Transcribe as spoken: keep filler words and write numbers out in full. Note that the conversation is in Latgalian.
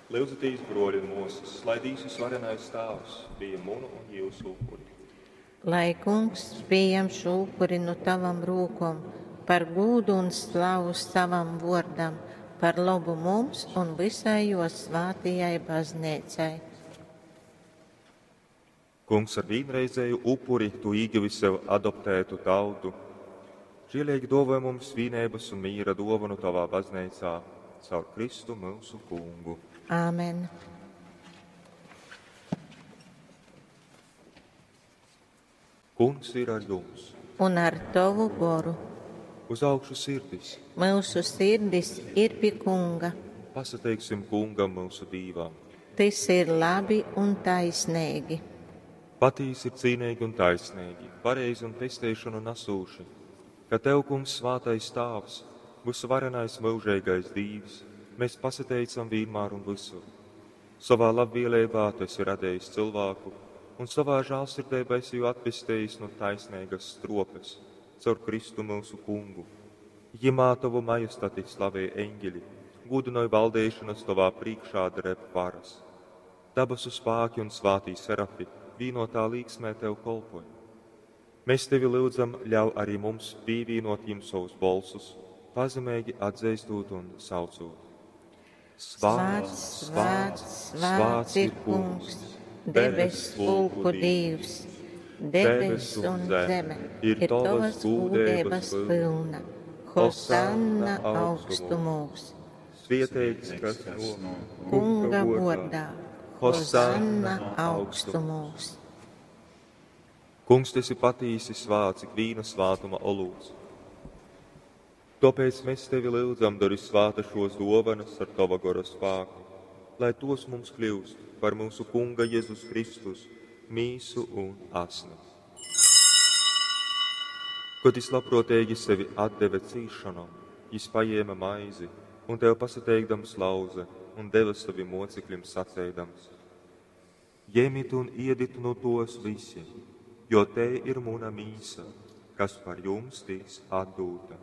Lyudzitīs, bruoļi un muosys, lai Dīvs Vysvarenais Tāvs pījem munu un jiusu upuri. Lai Kungs pījam šo upuri nu tavam rūkom par gūdu un slavu savam vuordam, par lobu mums un visai juo svātajai bazneicai. Kungs, ar vīnreizēju upuri tu ieguvi sev adoptētu tautu. Žielīgi dāvā mums vīneibas un mīra dāvanu tavā bazneicā, caur Kristu mūsu kungu. Āmen. Kungs ir ar jums. Un ar tavu goru. Uz augšu sirdis. Mūsu sirdis ir pie Kunga. Pasateiksim Kungam mūsu Dīvam. Tas ir labi un taisnīgi. Patīsi ir cīnīgi un taisnīgi, pareizi un pesteišanu nesūši, ka Tev, Kungs, svātais Tāvs, visuvarenais mūžīgais Dīvs, mēs pasateicam vienmēr un visur. Savā labvēlībā Tu esi radījis cilvēku, un savā žēlsirdībā esi jū atpestījis no taisnīgas stropes, caur Kristu mūsu kungu. Jimā Tavu majestati slavē eņģeļi, gudinoja valdīšanas Tavā priekšā dreb varas. Dabasu spāki un svātī serafi vīnotā līksmē Tev kolpoja. Mēs Tevi lūdzam, ļauj arī mums pievienot jim savus bolsus, pazemīgi atzīstot un saucot. Svēts, svēts, svēts ir Kungs, debes pulku Dievs, debes un zeme ir tavas gūdības pilna. Hosanna augstumos. Svietēts, kas no Kunga vārdā. Hosanna augstumos. Kungs, tu esi patīsi svāts ik vīna svātuma olūts. Tāpēc mēs tevi lūdzam, dari svāta šos dovanas ar tava gora spēku, lai tos mums kļūst par mūsu Kunga Jēzus Kristus mīsu un asni. Kad jis labprātīgi sevi atdeva cīšanom, jis paņēma maizi un tev pasateikdams lauze un deva saviem mocekļiem sacēdams: Ņemiet un iedit no tos visi, jo te ir muna mīsa, kas par jums tiks atdūta.